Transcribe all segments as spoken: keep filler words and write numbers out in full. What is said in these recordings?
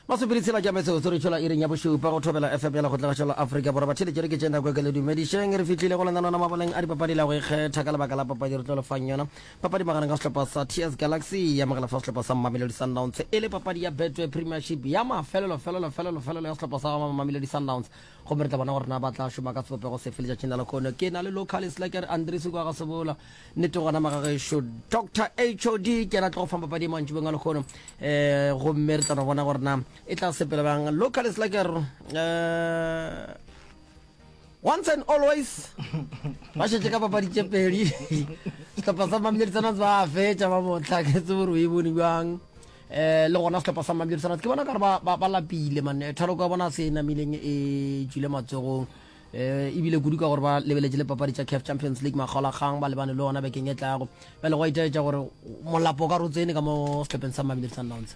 Masomepedi tshela ke a metsotso re tšwela iring ya bošupa go Thobela F M ya Lekgotlagašo la Afrika Borwa. Batheeletši re ke tše nako e ke le dumedišeng. Re fihlile go lenaneo la mabaleng a dipapadi la go ikgetha ka lebaka la papadi re tlo le fang yona. Papadi magareng ga sehlopha sa T S Galaxy ya amogela fa sehlopha sa Mamelodi Sundowns e le papadi ya Betway Premiership ya mafelelo felelo felelo felelo ya sehlopha sa Mamelodi Sundowns. Gomme re tla bona gore na ba tla šoma ka sebopego sefe letšatšing la lehono. Ke na le local slacker Andries kwa ga Sebola. Nnete gona magagešo Doctor H O D ke yena a tlo go fang papadi e mantšibeng a lehono. Eh, gomme re tla no bona gore na e tla sepela bjang. Local slacker, eh, once and always ba šetše ka papadi tše pedi. Sehlopha sa Mamelodi Sundowns ba fetša ba bohla, ke tsebe gore o e bone bjang. Eh, le gona sehlopha sa Mamelodi Sundowns ke bona ka gore ba, ba, ba lapile man. Thaloko ya bona se e namileng e tšwile matsogong. Eh, ebile kudu ka gore ba lebeletše le papadi tša C A F Champions League makgaolakgang ba lebane le ona bekeng e tlago. Bjale go a itaetša gore molapo o ka re o tsene ka mo sehlopheng sa Mamelodi Sundowns.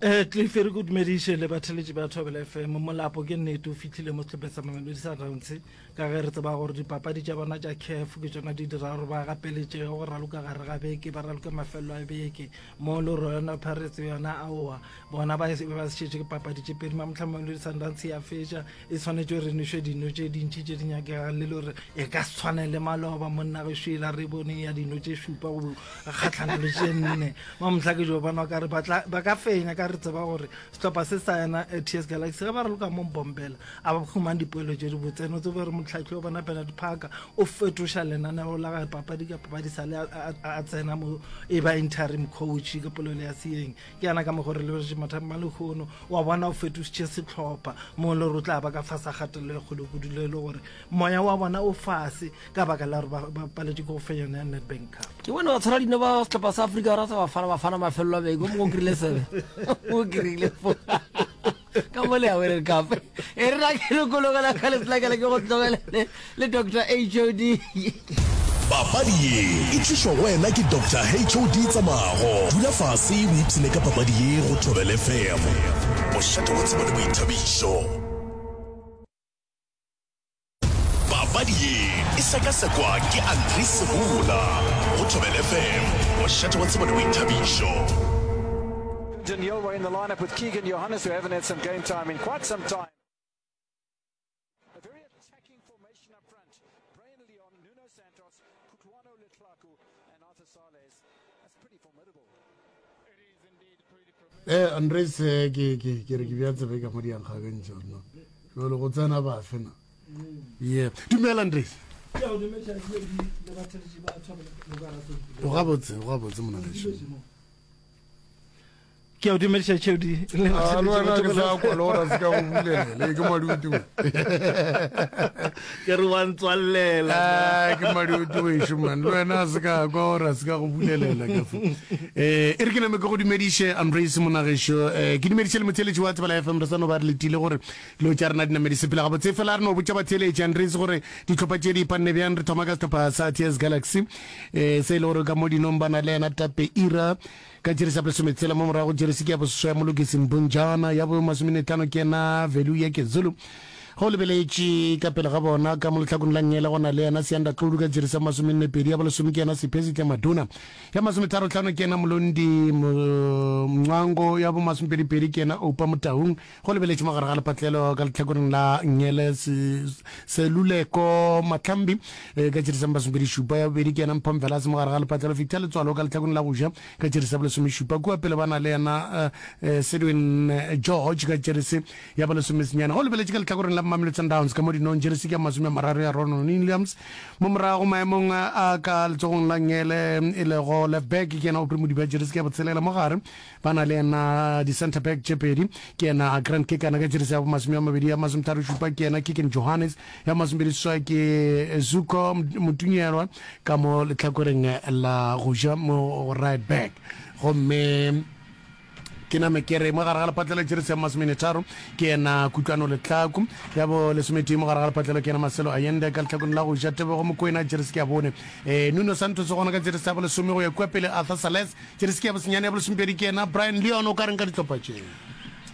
Eh, Cliff, re go dumediše le batheletši ba Thobela F M. Molapo ke nnete o fihlile mo sehlopheng sa Mamelodi Sundowns ka ge re tseba gore dipapadi tša bona tša C A F ke tšona di dira gore ba gapeletšege go raloka gare ga beke, ba raloke mafelelo a beke. Mo le Orlando Pirates yona aowa, bona ba, ba šetše ke papadi tše pedi. Mamohla Mamelodi Sundowns ya fetša, e swanetše gore nwešwe dino tše dintši tše di nyakegang, le le gore e ka se tshwane le maloba monna ge šwela re bone ya dino tše šupa go kgatlhana le tše nne. Mamohla ke jo bona ka re ba tla, ba ka fenya, ka re tseba gore sehlopha se sa yena, eh, T S Galaxy ge ba raloka mo Mbombela a ba humane dipoelo tše di botse. Ene o tsebe gore motlhahli wa bona Bernard Parker o fetoša lenaneo la gagwe papadi ka papadi sa le a, a, a, a tsena mo e ba interim coach ka polelo ya seeng. Ke yana ka mokgwa re lebeletše mathata a lehono, wa bona o fetošitše sehlopha mo le gore o tla ba ka fase ga kgatelelo e kgolo kudu, le le gore moya wa bona o fase ka baka la gore ba, ba paletše ke go fenya yona ya Nedbank Cup. Ke bone ba tshwara dino ba sehlopha sa Afrika Borwa sa Bafana Bafana mafelelo a beke, o mongwe o kry-ile sebe, o kry-ile fo ka mo le ya World Cup. E re na ke lokologela ka letlakala ke go tlogele le, le Doctor H O D. Papadi ye e tlišwa go wena ke Doctor H O D Tsamago. Dula fase o ipshine ka papadi ye go Thobela F M, mošate wa tsebo le boithabišo. Papadi ye e sekasekwa ke Andries Sebola go Thobela F M, mošate wa tsebo le boithabišo. Daniel in the lineup with Keegan Johannes, who haven't had some game time in quite some time. A very attacking formation up front. Brian Leon, Nuno Santos, Kutlwano Letlhaku and Arthur Sales. That's pretty formidable. Eh, Andres, eh, ke, ke, ke re ke bja tsebe ka mo di ankgakantšha no. Jwale go tsena bafe na? Yeah. Dumela Andres. Ke a o dumediša le le batheletši ba Thobela Lokara. O gabotse, o gabotse mona gešo. Ke a o dumediša Tšheodi le Ah, le wena ke sa batheletši ba kwa le gore a se ka go bulela, le ke madutu. Ke re wa ntswallela. Ah, ke madutu wešo man, le wena a se ka kwa gore a se ka go bulelela ka fo. Eh, e re ke name ke go dumediše Andres monagešo, eh, ke dumediše le motheeletši wa Thobela F M, re sa no ba re letile gore dilo tša rena di name di sepela gabotse. Fela re no botša batheeletši Andres gore dihlopha tše di ipanne bjang. Re thoma ka sehlopha sa T S Galaxy, eh, se e le gore ka mo dinong ba na le yena Tape Ira ka jeresi ya bolesometshela, mo morago jeresi ke ya boseswa ya Molokisi Mbunjana, ya bo masomenetlhano ke yena Veluya Kezulu. Ge o lebeletše ka pele ga bona ka mo lehlakong la nngele go na le yena Sianda Xulu ka jeresi ya masomenne pedi, ya bolesome ke yena Siphesihle Maduna, ya masometharo-hlano ke yena Molondi Mncwango, ya bo masomepedi-pedi ke yena Oupa Motaung. Go lebeletše mo gare ga lepatlelo ka lehlakoreng la nngele Seluleko Mahlambi ka jeresi ya masomepedi šupa, ya bobedi ke yena Mpho Mvelase mo gare ga lepatlelo Victor Letswalo ka lehlakoreng la go ja ka jeresi ya bolesomešupa. Kua pele ba na le yena Sedwin George ka jeresi ya bolesomesenyane. Go lebeletše ka lehlakoreng la Mamelodi Sundowns ka mo dinong jeresi ke ya masome a mararo ya Ronwen Williams, mo morago maemong a ka letsogong la nngele e lego left back ke yena Aubrey Modiba, jeresi ke ya botshelela. Mo gare ba na le yena di-center back tše pedi, ke yena Grant Kekana ka jeresi ya bomasome a mabedi, ya masometharo šupa ke yena Keagan Johannes, ya masomepedi seswai ke Zuko Motunyelwa ka mo lehlakoreng la go ja mo right back. Gomme ke name ke re mo gare ga lepatlelo jeresi ya masomene tharo ke yena Kutlwano Letlhaku, ya bo lesometee mo gare ga lepatlelo ke yena Marcelo Allende ka lehlakoreng la go ja Tebogo Mokoena jeresi ke ya bone, eh, Nuno Santos gona ka jeresi ya bolesome go ya kua pele Arthur Sales jeresi ke ya bosenyane, ya bolesomepedi ke yena Brian Leon. O ka reng ka dihlopha tše?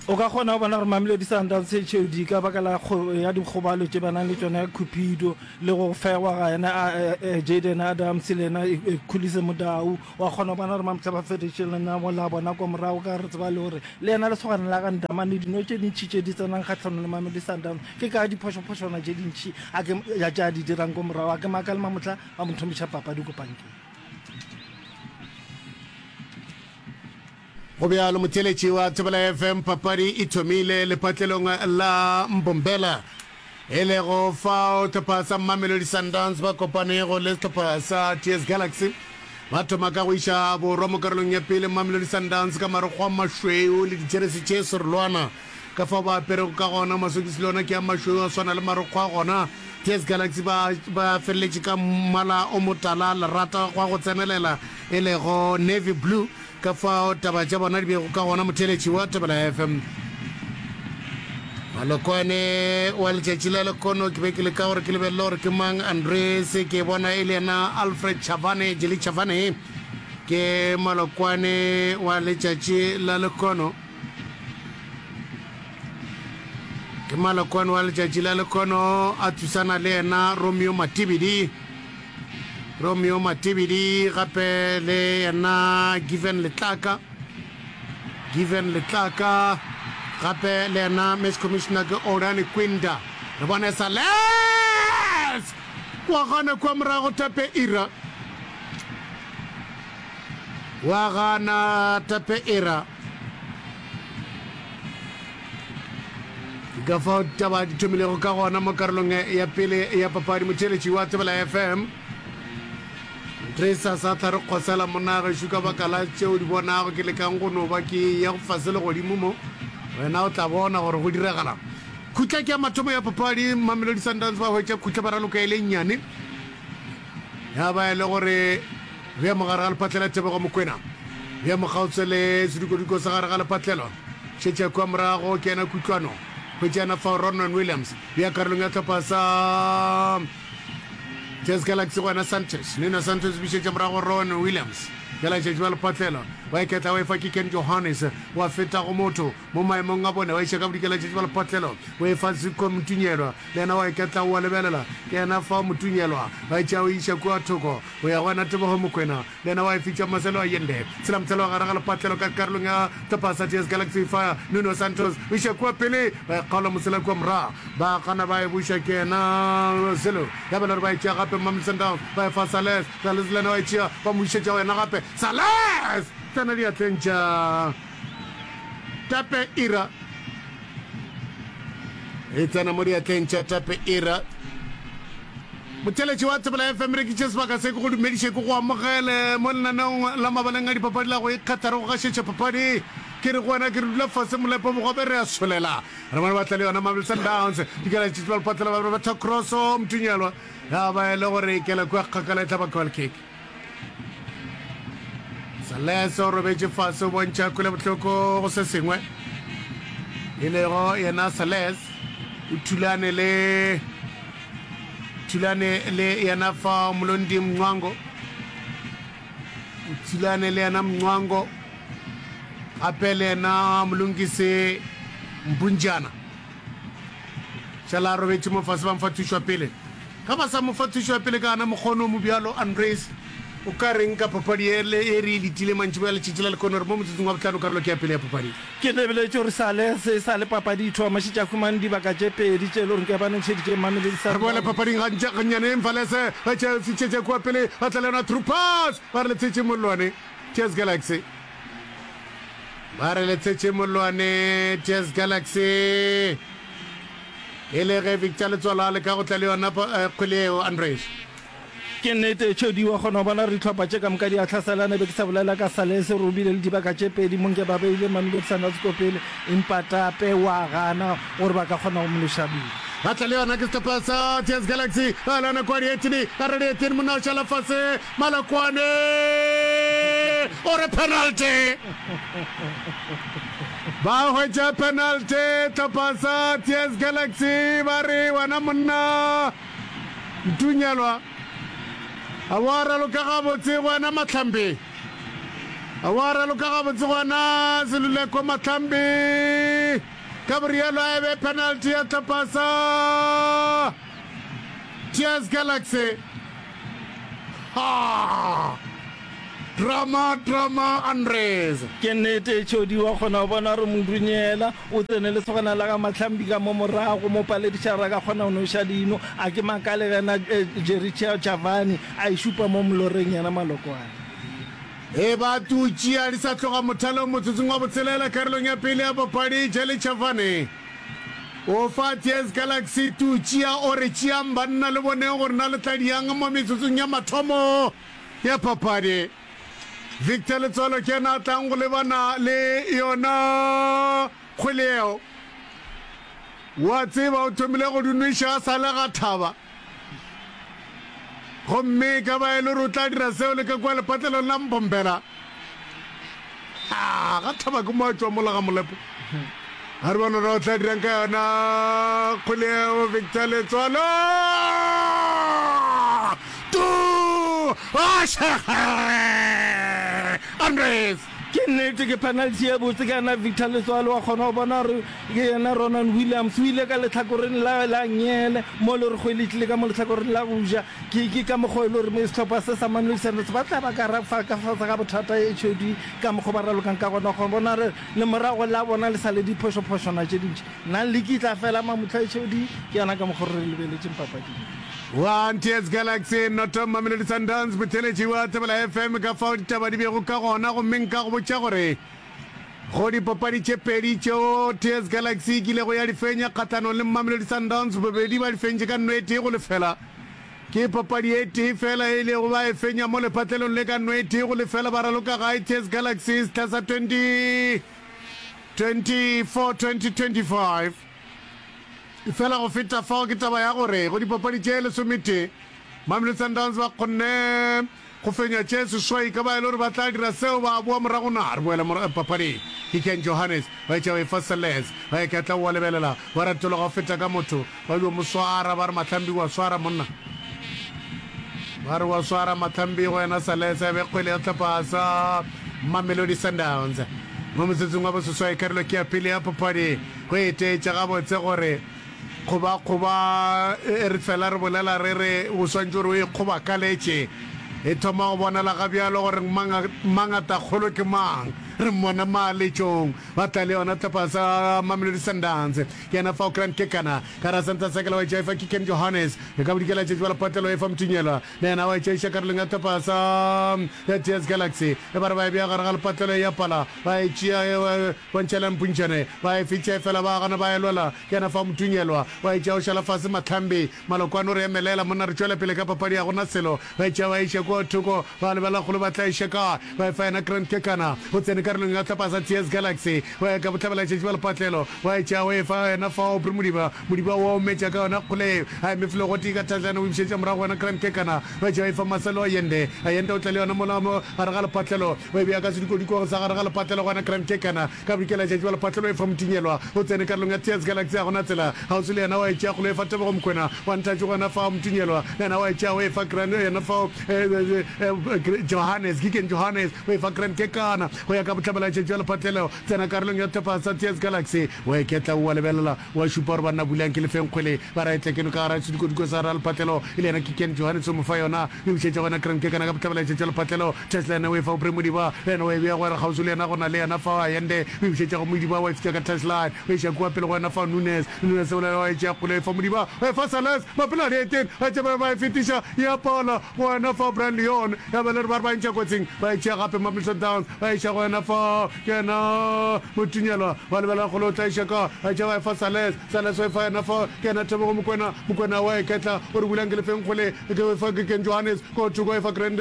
O ka kgona go bona gore Mamelodi Sundowns H O D ka baka la ya dikgobalo tše ba nang le tšona ya Cupido le go fegwa ga yena Jayden Adams le yena Khuliso Mudau, wa kgona go bona gore Mamhla ba fetoše lenaneo la bona kwa morago ka re tseba le gore le yena lesogana la ga Ndamane dino tše dintši tše di tsenang kgahlanong le Mamelodi Sundowns ke ka diphošophošwana tše dintši a ke ya tše a di dirang ko morago. A ke makale Mamohla ba mo thomiša papadi ko pankeng. Go bjalo motheeletši wa Thobela F M, papadi e thomile lepatlelong la Mbombela, e lego fao hlopha sa Mamelodi Sundowns ba kopanego le sehlopha sa T S Galaxy. Ba thoma ka go iša borwa mo karolong ya pele, Mamelodi Sundowns ka marokgo a mašweu le dijeresi tše serolwana ka fao ba aperego ka gona, masokisi le ona ke a mašweu a swana le marokgo a gona. T S Galaxy ba ba feleletše ka mmala o motala lerata gwa go tsenelela e lego navy blue. Ka fao taba tša bona di bego ka gona, motheeletši wa Thobela F M. Malokwane wa letšatši la lekono, ke be ke leka gore ke lebelele gore ke mang Andres, ke bona e le yena Alfred Chavane, Jelly Chavane ke malokwane wa letšatši la lekono, ke malokwane wa letšatši la lekono, a thusana le yena Romeo Matibidi. Romeo Matebedi gape le yena Given Letlaka, Given Letlaka gape le yena match commissioner ke Orani Kwinda. Re bone Sales wa gana kua morago, Tape Ira wa gana, Tape Ira. Ke ka fao taba di thomilego ka gona mo karolong ya pele ya papadi. Motheeletši wa Thobela F M, Tracer sa tla re kgosela monna gešo ka baka la tšeo di bonago ke lekang go no ba ke ya go fase le godimo mo, wena o tla bona gore go diragalang. Khutla ke ya mathomo ya papadi, Mamelodi Sundowns ba hwetša khutla ba raloka e le nnyane. Ya ba e le gore bja mogare ga lephatlelo Tebogo Mokwena, bja mokgaotse le sedukodiko sa gare ga lephatlelo šetša kua morago ke yena Kutlwano, hwetša yena fao Ronwen Williams, bja karolong ya hlopha sa T S Galaxy go yena Santos, Nuno Santos bišetša morago Ronwen Williams, bjala tšatši ba lephatlelo wa iketla wa efa ke Ken Johannes, wa feta go motho mo maemong a bone wa iša ka bodikela tšatši ba lephatlelo o efa Zuko Mtunyelwa, Le yena wa iketla o a lebelela, ke yena fao Motunyelwa ba e tšea o e iša kua thoko go ya go yena Tebogo Mokwena, le yena wa e fitša Marcelo Allende. Tshela motshelo wa gare ga lepatlelo ka karolong ya hlopha sa T S Galaxy fa Nuno Santos o iša kua pele, ba e kgaola mosela kua morago, ba gana ba e buša ke yena Zulu, ya ba le gore ba e tšea gape Mamelodi Sundowns ba e fa Sales, Sales le yena wa e tšea ba mo išetša go yena gape Sales tsena diatleng tša Tape Ira. E tsena mo diatleng tša Tape Ira. Motheeletši wa Thobela F M, re kitše sebaka se ke go dumediše, ke go amogele mo lenaneong la mabaleng a dipapadi la go ikgetha re go gašetša papadi. Ke re go wena ke re dula fase molepo bogobe re a solela. Re bone ba tla le yona Mamelodi Sundowns. Dikela tše ba lepatlela ba betha crosso Mtunyelwa ya ba e le gore e kela kua kgakala e tla ba goal kick. Sales o robetše fase o bontšha kwelobohloko go se sengwe e lego yena Sales o thulane le thulane le yena fa Molondi Mncwango, o thulane le yena Mncwango gape le yena Molongisi Mpunjana. Šala a robetše mo fase ba mo fa thušo ya pele. Ge ba sa mo fa thušo ya pele ka gana mokgono o mobjalo, Andries, o ka reng ka papadi ye ye re e letile mantšiboa letšatši la lehono? Re mo motsotsong wa bohlano karolo ke ya pele ya papadi. Ke lebeletše gore sale se sa le papadi e thoma, šetše a humane dibaka tše pedi tše e le gore ke ba nošeditše Mamelodi Re boele Sundowns. papading gantši gannyane. Mfalese ba tšea fitšhetše kua pele, ba tla le yona through pass, ba re le tshetše mollwane. T S Galaxy. Ba re le tshetše mollwane T S Galaxy. E le ge Victor Letsoalo a leka go tla le yona kgwele yeo, Andries. Ke nnete, Tšhodi, wa kgona go bona gore dihlopha tše ka moka di a hlaselana. Be ke sa bolela ka Sales gore o bile le dibaka tše pedi mo nke ba beile Mamelodi Sundowns ko pele, empa Tape wa gana gore ba ka kgona go mo leša boima. Ba tla le yona ke sehlopha sa T S Galaxy. Ba le yona kua dietini, ba re dietini, monna o šala fase. Malokwane o re penalty. Ba hwetša penalty hlopha sa T S Galaxy, ba re wena monna Ntunyelwa a wa raloka gabotse, wena Mahlambi a wa raloka gabotse, gona Seluleko Mahlambi. Ka borialo a e be penalty ya hlopha sa T S Galaxy. Ha! Drama, drama, Andres. Ke nnete, Tšhodi wa kgona go bona gore Modunyela o tsene lesogana la ga Mahlambi ka mo morago, mo palediša gore a ka kgona go noša dino. A ke makale ge na Jerry Chavani a e šupa mo moloreng yena Malokwane. E ba tutšia di sa tloga mothalong motsotsong wa botshelela karolong ya pele ya papadi. Jelly Chavani o fa T S Galaxy tutšia, o re tšeang banna le boneng gore na le tla diang mo metsotsong ya mathomo ya papadi. Victor Letsoalo ke yena a tlang go lebana le yona kgwele yeo. Wa tseba o thomile go di nweša a sa le ga thaba. Gomme e ka ba e le gore o tla dira seo le ka kua lepatlelong la Mpompela. Ha, ga thaba ke mo a tšwa mola ga Molepo. A re bone gore o tla dirang ka yona kgwele yeo Victor Letsoalo. Tu! Andres! Ke nnete, ke penalty ye botse ka yena Victor Letsoalo, wa kgona go bona gore ke yena Ronan Williams o ile ka lehlakoreng la la nngele mo le gore kgwele e tlile ka mo lehlakoreng la go ja. Ke ke ka mokgwa e le gore sehlopha se sa Mamelodi Sundowns ba tla ba ka ra fa ka fase ga bothata H O D ka mokgwa ba ralokang ka gona. Wa kgona bona gore lemorago la bona le sa le diphošophošwana tše dintši. Na liki e tla fela Mamutla H O D? Ke yona ka mokgwa re lebeletšeng papading. One T S Galaxy noto Mamelodi Sundowns. Motheeletši wa Thobela F M, ka fao ditaba di bego ka gona, gomme nka go botša gore go dipapadi tše pedi tšeo T S Galaxy e kilego ya di fenya kgahlanong le Mamelodi Sundowns, bobedi ba di fentše ka nno e tee go lefela. Ke papadi e tee fela e ilego ba e fenya mo lepatlelong le ka nno e tee go lefela ba raloka gae T S Galaxy sehla sa twenty twenty-four twenty twenty-five. Fela go feta fao ke taba ya gore go dipapadi tše lesometee Mamelodi Sundowns ba kgonne go fenya tše seswai, ka ba e le gore ba tla dira seo ba boa morago na. Re boele papading. Ke Ken Johannes ba etša ba efa Seles ba iketla wa lebelela ba retologa go feta ka motho ba dio mo swara ba re Mahlambi wa swara monna ba re wa swara Mahlambi go yena Seles a be kgwele ya sehlopha sa Mamelodi Sundowns mo motsotsong wa boseswai karolo ke ya pele ya papadi. Go etetša gabotse gore kgobakgoba e re fela re bolela re re o swantše gore o e kgobakaletše. E thoma go bonala ga bjalo gore mangatakgolo ke mang. Re mmona maaletšong. Ba tla le yona hlopha sa Mamelodi Sundowns. Ke yena fao Grant Kekana. Ka ra center circle wa etša efa ke Ken Johannes. E ka bodikela tšetši ba lepatlelo efa Mtunyelwa. Le yena wa etša iša karolong ya hlopha sa ya T S Galaxy. E ba re ba e bea gare ga lepatlelo e ya pala. Ba e tšea Bontšhela mpuntšhane, ba e fitša efela ba gana ba e lwela. Ke yena fa Motunyelwa, wa e tšea o šala fase Mahlambi. Malokwane o re emelela monna re tšwele pele ka papadi ga gona selo. Ba e tšea ba e iša kua thoko, ba lebelela kgolo ba tla iša kae. Ba e fa yena Grant Kekana, o tsene karolong ya sehlopha sa T S Galaxy. Wa ya ka bohlabelatšatši bja lepatlelo, wa e tšea o e fa yena fa Aubrey Modiba. Modiba o a ometša ka yona kgole yeo, a eme felo gotee ka thajana o e bušetša morago go yena Grant Kekana. Ba e tšea ba e fa Marcelo Allende, Allende o tla le yona mola mo gare ga lepatlelo. Ba e bea ka sedikodikong sa gare ga lepatlelo gona Grand Kekana ka bodikelatšatši bja lepatlelo e fa Motinyelwa o tsene karolong ya T S Galaxy a gona tsela kgauswi le yena wa e tšea kgolo e fa Tebogo Mokwena wa Nthatši gona fao Motinyelwa le yena wa e tšea o e fa Grand yena fao Johannes Giken Johannes o e fa Grand Kekana go ya ka bohlabelatšatši bja lepatlelo tsena karolong ya sehlopha sa T S Galaxy wa iketla o a lebelela wa šupa gore banna bulang ke lefeng kgwele ba ra e tlekeno ka gara sedikodiko sa gare ga lepatlelo e le yena Kiken Johannes o mo fa yona o e bušetša go yena Grand Kekana ka bohlabelatšatši bja lepatlelo Tesla yena o e fa Aubrey Modiba le yena o e bea go yena kgauswi le yena go na le yena fao Allende o e bušetša go Modiba wa e fitša ka touchline o e iša kua pele go yena fao Nunes Nunes o wa e tšea kgole o e fa Modiba o e fa Sales Mapelo a dieteng ba tšea ba e fetiša ya pala go yena fao Brian Leon ya ba le re ba re ba e ntšha kotsing ba e tšea gape Mamelodi Sundowns ba e iša go yena fao ke yena Motunyelwa wa lebelela kgole o tla iša ka ba e tšea ba e fa Sales Sales o e fa yena fao ke yena Tebogo Mokwena Mokwena wa e ketla o re bulang ke lefeng kgole ke e fa ke Ken Johannes ko thoko e fa Grand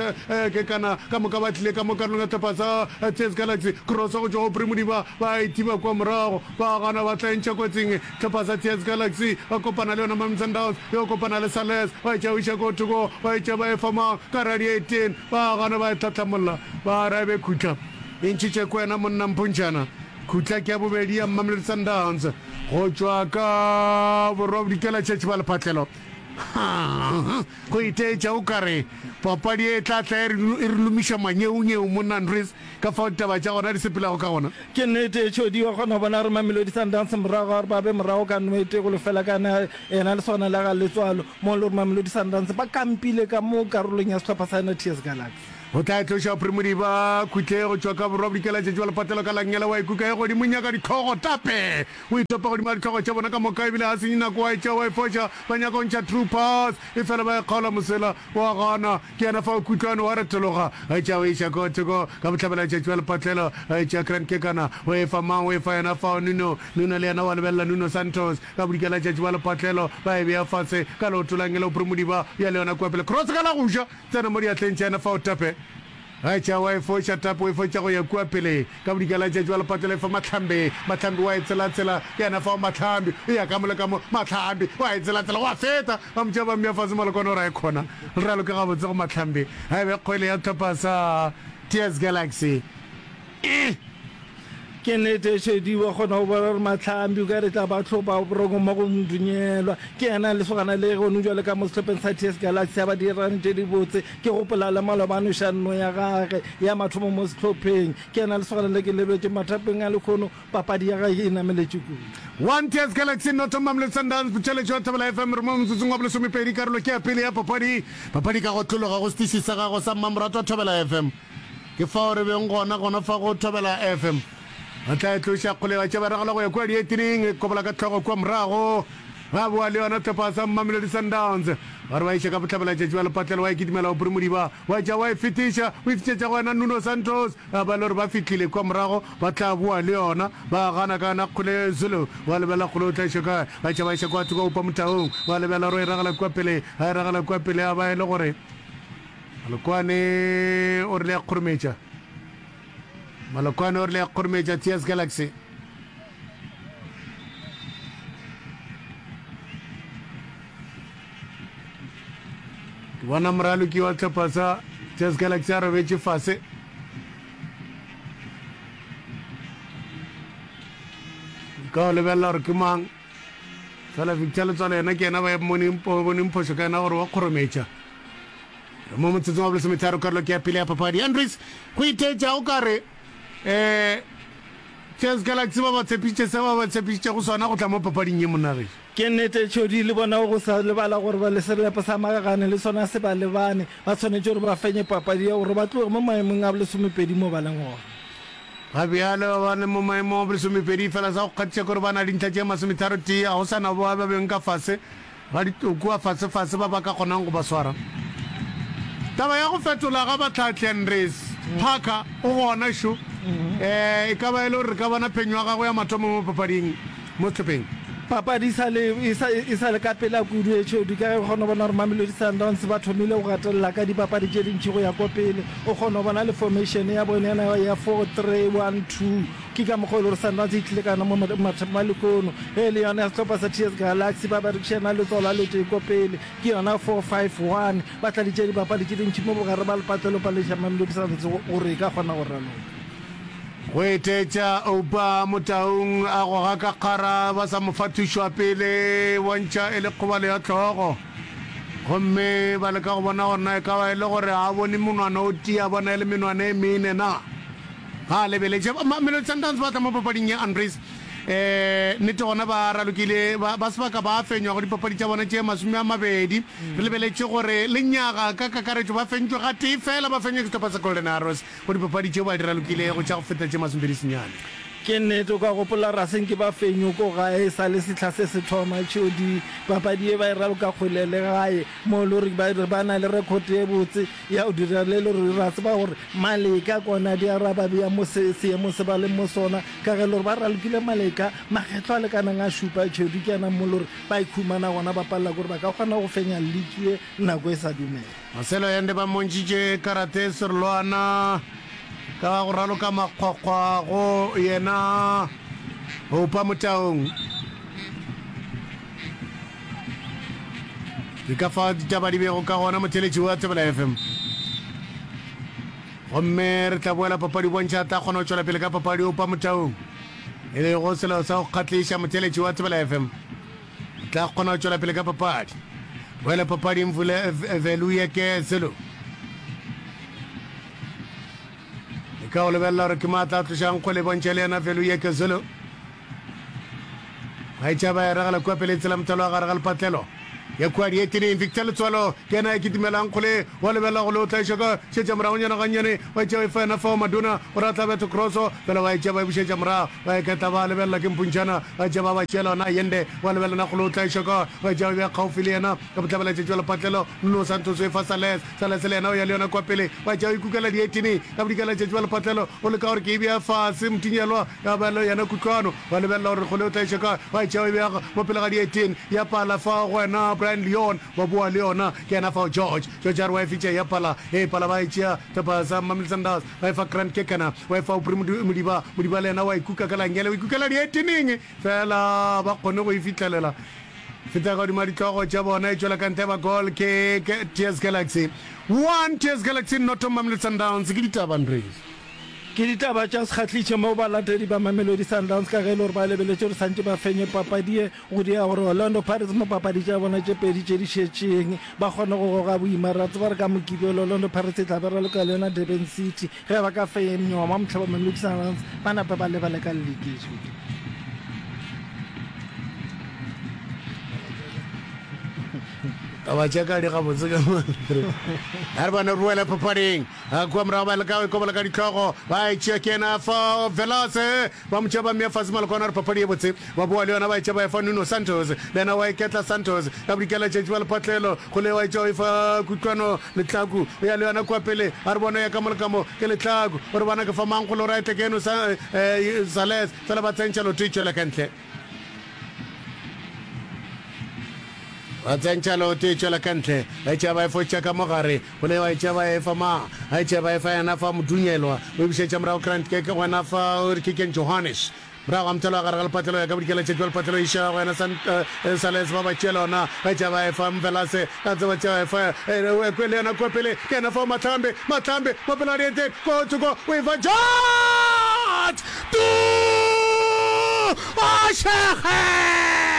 ke kana ka moka ba tlile ka mo karolong ya sehlopha sa T S Galaxy cross go tšwa go Aubrey Modiba ba e thiba kua morago ba gana ba tla e ntšha kotsing sehlopha sa T S Galaxy ba kopana le yona Mamelodi Sundowns yo kopana le Sales ba e tšea o iša ko thoko ba e tšea ba e fa mang ka radiating ba gana ba e hlahlamolla ba ra e be khutla e ntšhitše ko wena monna Mpontšhana khutla ke ya bobedi ya Mamelodi Sundowns go tšwa ka borwa bodikela tšhetši ba lephatlelo. Go iteetša o ka re papadi e tla tla e re e re lomiša manyeunyewu monna Andries ka fao ditaba tša gona di sepelago ka gona. Ke nnete, Tšhodi wa kgona go bona gore Mamelodi Sundowns morago ga gore ba be morago ka no e tee go lefela ka na yena lesogana la ga Letswalo mo e le gore Mamelodi Sundowns ba kampile ka mo karolong ya sehlopha sa yona TS Galaxy. O tla e tloša Phrimodiba Khutle go tšwa ka borwa bodikela tšatši wa lepatelo ka langela wa ikuka e godimo nyaka dihlogo tape o itopa godimo ga dihlogo tša bona ka moka ebile ga senye nako wa e tšea wa e foša ba nyaka go ntšha true pass efela ba e kgaola mosela wa gana ke yena fao Kutlwano wa retologa a e tšea o e iša ko thoko ka bohlabela tšatši wa lepatlelo a e tšea Grand Kekana o e fa mang o e fa yena fao Nuno Nuno le yena wa lebelela Nuno Santos ka bodikela tšatši wa lepatlelo ba e bea fase ka leoto la ngela o Phrimodiba ya le yona kua pele cross ka la go ja Tsena mo diatleng tša yena fao tape. Ga tša wa e foša tape o e fotša go ya kua pele ka bodikela tšatši wa lepatelo e fa Mahlambi. Mahlambi wa e tsela-tsela ke yena fao Mahlambi o ya ka mo le ka mo Mahlambi wa e tsela-tsela wa feta ba mo tšea ba mmea fase Malokwane o re a e khona le raloke gabotse go Mahlambi ga e be kgwele ya hlopha sa T S Galaxy e. Ke nnete, Shedi wa kgona go bona gore Mahlambi o ka re tla ba hlopa boroko mo go Mdunyelwa. Ke yena lesogana le gone bjale ka mo sehlopheng sa T S Galaxy a ba dirang tše dibotse. Ke gopola le maloba a noša nno ya gage ya mathomo mo sehlopheng. Ke yena lesogana le ke lebetše mathapeng a lekhono, papadi ya gage e nameletše kudu. One T S Galaxy noto Mamelodi Sundowns Putšeletšo ya Thobela F M re mo motsotsong wa bolesomepedi karolo ke ya pele ya papadi. Papadi ka go tlologa go setiši sa gago sa mmamoratwa Thobela F M. Ke fao re beng gona, gona fa go Thobela F M. Ba tla e tloša kgole ba tšea ba ragela go ya kua dietining, e kobola ka hlogo kua morago. Ba boa le yona hlopha sa Mamelodi Sundowns. Ba re ba iša ka bohlabelatšatši ba lepatlelo, wa e kitimela Aubrey Modiba, wa tšea wa e fetiša, o e fetišetša go yena Nuno Santos. A ba le gore ba fihlile kua morago, ba tla boa le yona. Ba gana ka yona kgole Zulu, wa lebela kgole o tla iša kae? Ba tšea ba iša kua thoko Oupa Motaung, wa lebela gore o e ragela kua pele, a e ragela kua pele a ba e le gore Malokwane o rile a kgorometša. Malokwane o rile a kgorometša T S Galaxy. Ke bona moraloki wa tlhopha sa T S Galaxy a robetše fase. Ka o lebelela gore ke mang. Fela Victor Letswalo yena ke yena ba boneng phošo ka yena gore wa kgorometša. Re mo motsotsong wa bolesometharo karolo ke ya pele ya papadi. Andries, go itheetša o ka re um T S Galaxy ba ba tshepišitše se ba ba tshepišitšego sona go tla mo papading ye monagešo. Ke nnete, Tšhodi le bona go sa lebala gore ba le serelepo sa Magagane le sona se ba lebane. Ba swanetše gore ba fenye papadi ye gore ba tloge mo maemong a bolesomepedi mo ba leng gona. Ga bjale ba ba le mo maemong a bolesomepedi fela sa go kgatiša ke gore ba na le dintlha tše masometharo tee, ga go sa na ba ba beng ka fase ga kua fasefase ba ba ka kgonang go ba swara. Taba ya go fetola ga bahlahli Andries Parker o gona šo. E ka ba e le gore re ka bona phenyo ya gagwe ya mathomo mo papading mo sehlopheng. Papadi e sa le e sa e sa le ka pela kudu e Tšhodi ka ge o kgona go bona gore Mamelodi Sundowns ba thomile go gatelela ka dipapadi tše dintši go ya ko pele. O kgona go bona le formation ya bone yena ya four three one two. Ke ka mokgwa o le gore Sundowns e tlile ka yona mo mathapeng a lehono. Ge e le yona ya sehlopha sa T S Galaxy ba berekišana letswalo a letee ko pele, ke yona four five one. Ba tladitše dibapadi tše dintši mo bogare ba lepatlelo ba leša Mamelodi Sundowns gore e ka kgona go raloka. Go etetša Oupa Motaung a goga ka kgara ba sa mo fa thušo ya pele, bontšha e le kgobalo ya hlogo. Gomme ba leka go bona gore na e ka ba e le gore ga a bone monwana o tee, a bona e le menwana e mene na. Ga a lebeletše. Mamelodi Sundowns ba tla mo papading ye, Andries. Um nnete gona ba ralokile, ba, ba sebaka ba fenywa go dipapadi tša bona tše masome a mabedi. Re lebeletše gore lenyaga ka kakaretšo ba fentšwe gatee fela, ba fenywa ke sehlopha sa Golden Arrows go dipapadi tšeo ba di ralokilego tša go feta tše masomepedi senyane. Ke nnete, o ka gopola ra se nke ba fenywe ko gae e sa le sehla se se thoma. Tšhodi, papadi ye ba e raloka kgole le gae, mo e le gore ba re ba na le record ye botse ya go dira le le gore ra tseba gore Maleka kona di araba bjang mo se seemong se ba leng mo sona, ka ge e le gore ba ralokile Maleka makgetlo a lekanang a šupa. Tšhodi ke yena mo e le gore ba ikhumana gona ba palela ke gore ba ka kgona go fenya liki ye nako e sa dumela. Marcelo Allende ba mmontšitše karate serolwana ka go raloka makgwakgwa go yena Oupa Motaung. Ke ka fao ditaba di bego ka gona motheletši wa Thobela F M. Gomme re tla boela papadi bontšha tla kgona go tšwela pele ka papadi Oupa Motaung, e lego selo sa go kgahliša motheletši wa Thobela F M. Tla kgona go tšwela pele ka papadi. Boele papading Vule Veluye ke Zulu. E ka o lebelela gore ke maatla a tlošang kgwele bontšha le yena Veluye ke Zulu. Ba etša ba e ragela kua pele tsela mothalo wa gare ga lepatlelo. Ya kua dieteneng Victor Letswalo ke yena ya kitimelang kgole wa lebelela go le o tlaiša ka šetša moragonyana gannyane wa etša e fa yena fao Madonna o re a tla betha crosso fela ba etša ba e bušetša morago ba eketla ba lebelela ke Mpuntšana ba etša ba ba tšeela ona Allende wa lebelela na kgole o tlaiša ka wa etša ba bea kgaufi le yena ka bohlabelatšatši wa lepatlelo Nuno Santos o e fa Sales Sales le yena o ya le yona kua pele wa etša o ikukela dieteneng ka bodikelatšatši wa lepatlelo o leka gore ke e bea fase Mtinyelwa ya ba le yena Kutlwano wa lebelela gore kgole o tla iša kae wa e tšea o e bea mo pele ga dietene ya pala fao go wena Brian Leon wa boa le yona ke yena fao George George a re wa e fitša ya pala e pala ba e tšea sehlopha sa Mamelodi Sundowns ba e fa Grant Kekana wa e fa Aubrey Modiba Modiba le yena wa e kuka ka langele o ikukela dieteneng fela ba kgone go e fihlelela feta ka godimo ga ditlogo tša bona e tšwela ka ntle ba goal ke T S Galaxy one T S Galaxy noto Mamelodi Sundowns ke ditaba Andries. Ke ditaba tša sekgahlišo moo balatedi ba Mamelodi Sundowns ka ge e le gore ba lebeletše gore santše ba fenye papadi ye go dia gore Orlando Pirates mo papadi tša bona tše pedi tše di šetšeng ba kgone go goga boima. Re a tseba gore ka Mokibelo Orlando Pirates e tla be raloka le yona Durban City. Ge ba ka fenywa mo mohla ba Mamelodi Sundowns ba nape ba lebale ka liki. Taba tša ka di gabotse ka a re bone re boele papading kua morago ba leka go ikobola ka dihlogo ba e tšea ke yena fa Velase ba mo tšea ba mmea fase malokwana gore papadi ye botse ba boa le yona ba e tšea ba e fa Nuno Santos le yena wa iketla Santos ka bodikela tšatši ba lepatlelo go le wa e tšea o e fa Kutlwano Letlhaku o ya le yona kua pele a re bone ya ka mo le ka mo ke Letlhaku o re bana ke fa mang go le gore a etle ke eno Sales fela ba tsentšha loto e tšwela ka ntle. Ba tsentšha loto e tšwela ka ntle, ba etša ba e fotša ka mo gare, go le ba etša ba e fa ma, ba etša ba e fa yena fa Modunyelwa, o e bušetša morago Grant ke gona fa ke Ken Johannes. Morago ga mothalo wa gare ga lepatlelo ya ka bodikela tšatši wa lepatlelo iša go yena San, eh, Sales ba ba tšeela ona, ba etša ba e fa Mvelase, ka tse ba tšea ba e fa eh, eh, le yena kua pele, ke yena fa Mahlambe, Mahlambe, mo pele ga dieteng, ko thoko o e fa George! Tu! O šege!